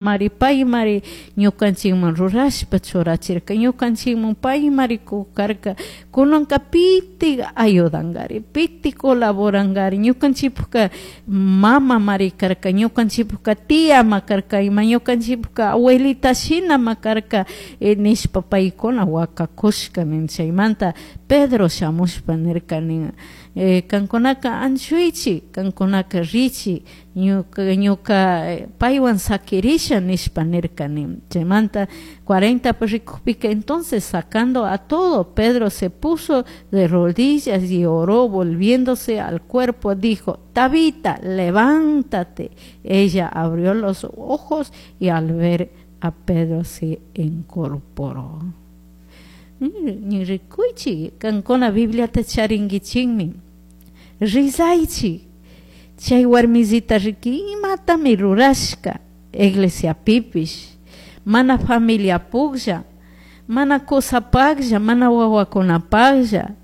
Mari paymari ñukanchikman rurashpa churachirka, ñukanchikman paymari kukarka. Kunanka pitik ayudankari, pitik colaborankari? Ñukanchikpukka mama mari karka, ñukanchikpukka tia ma karka, ima ñukanchikpukka abuelita shinama karka, nishpa paykuna wakakushka nin. Chaymanta Pedro shamushpa nirka nin: "Kankunaka anchuychik, kankunaka richi, ñuka paywan saquirisha", nishpa nirka nin. Chaymanta 40 rikukpika: "Entonces, sacando a todo, Pedro se puso de rodillas y oró. Volviéndose al cuerpo, dijo: 'Tabita, levántate'. Ella abrió los ojos y al ver a Pedro se incorporó". Rikuychik, kankuna Bibliata charinkichikmi, rizaychik. Chay warmisita riki, imatami rurashka iglesiapipish, mana familia puklla, mana kusapaklla, mana wawakunapaklla.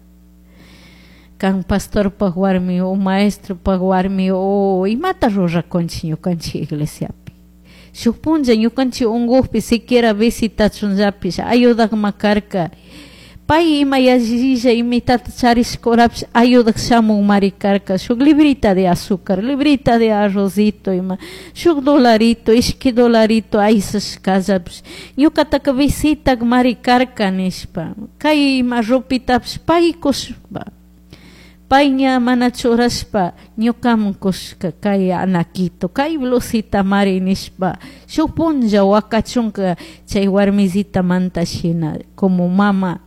Kan pastorpak warmi o maestropak warmi o imata rurakunchik ñukanchik iglesiapi? Shuk punlla ñukanchik unkukpi siquiera visitachunllapish ayudakma karka. Pay ima yallilla imitata charishkurapish ayudak shamunmari karka, shuk librita de azúcar, librita de arrozito, ima shuk dolarito, ishki dolarito aysashkallapish ñukataka visitakmari karka nishpa. Kay ima ropitapish pay kushpa, pay ña mana churashpa ñukaman kushka, kay anaquito, kay blusita mari nishpa. Shuk punlla wakachunka chay warmisitamanta shina, como mama,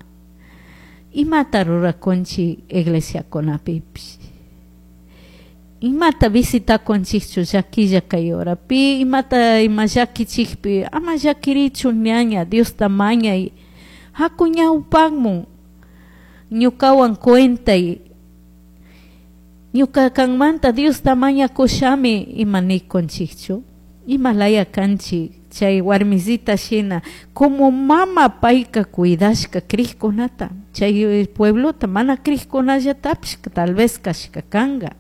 imata rurakunchik iglesiakunapipish? Imata visitakunchikchu llaquilla kay horapi? Imata ima llakichikpi, ama llakirichu ñaña, Diosta mañay, haku ñawpakmun, ñukawan cuentay, ñuka kanmanta Diosta mañakushami, ima nikunchikchu? Ima laya kanchik? Chay warmisita shina, como mama payka cuidashka crikkunata, chay pueblota mana crikkunallatapish tal vez kashka kanga.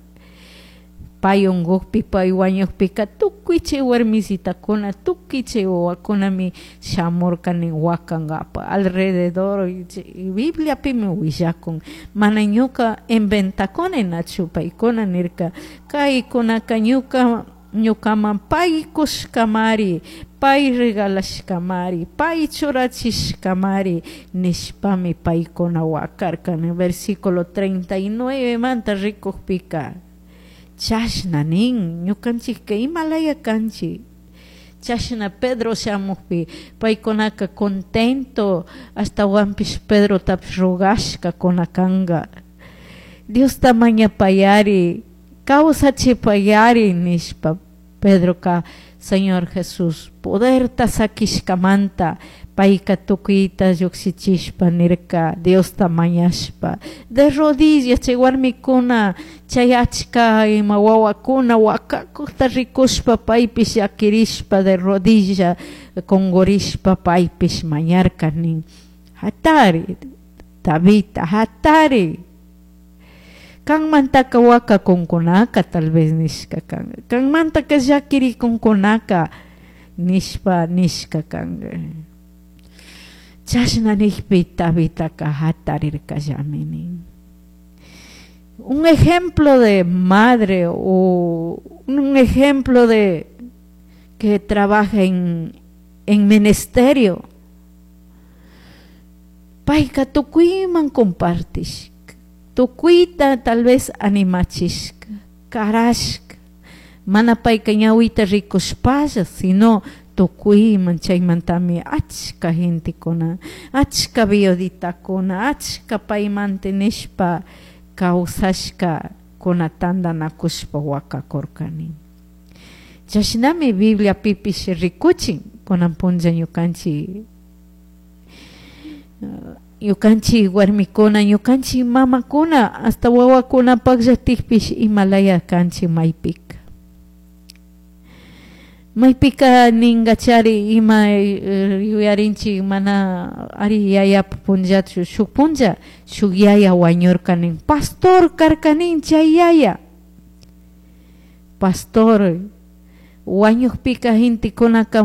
Pay unkukpi, pay wañukpika, tukuy chay warmisitakuna, tukuy chay wawakunami shamurka nin wakankapak alrededor. Bibliapimi willakun, mana ñuka inventakuni nachu. Paykuna nirka: "Kaykunaka ñuka ñukaman pay kushkamari, pay regalashkamari, pay churachishkamari", nishpami paykuna wakarka. Versículo 39 manta rikukpika chashna nin. Ñukanchikka imalaya kanchik? Chashna Pedro shamukpi paykunaka contento, ashtawanpish Pedrotapish rogashkakuna kanga, "Diosta mañapayari, kawsachipayari", nishpa. Pedroka Señor Jesús poderta sakishkamanta payka tukuyta llukshichishpa nirka, Diosta mañashpa de rodillas. Chay warmikuna, chay achka ima wawakuna wakakukta rikushpa, paypish llakirishpa, de rodilla kungurishpa paypish mañarka nin: "Hatari, Tabita, hatari. Kanmantaka wakakunkunaka", tal vez nishka kanka, "kanmantaka llakirikunkunaka", nishpa nishka kanka. Chashna nikpi Tabitaka hatarirkallami nin. Un ejemplo de madre o un ejemplo de que trabaja en ministerio. Payka tukuyman compartishka, tukuyta tal vez animachishka, karashka, mana payka ñawita rikushpalla, sino tukuyman. Chaymantami achka gentekuna, achka viuditakuna, achka paymanta nishpa kawsashka kuna tantanakushpa wakakurkani. Chashnami Bibliapipish rikuchin. Kunan punlla ñukanchik warmikuna, ñukanchik mamakuna, hasta wawakunapakllatikpish, imalaya kanchik maypika? Maypika ninkachari ima yuyarinchik, mana ari yayapa punllachu. Shuk punlla shuk yaya wañurka nin, pastor karka nin. Chay yaya pastor. Huañujpika gentekunaka.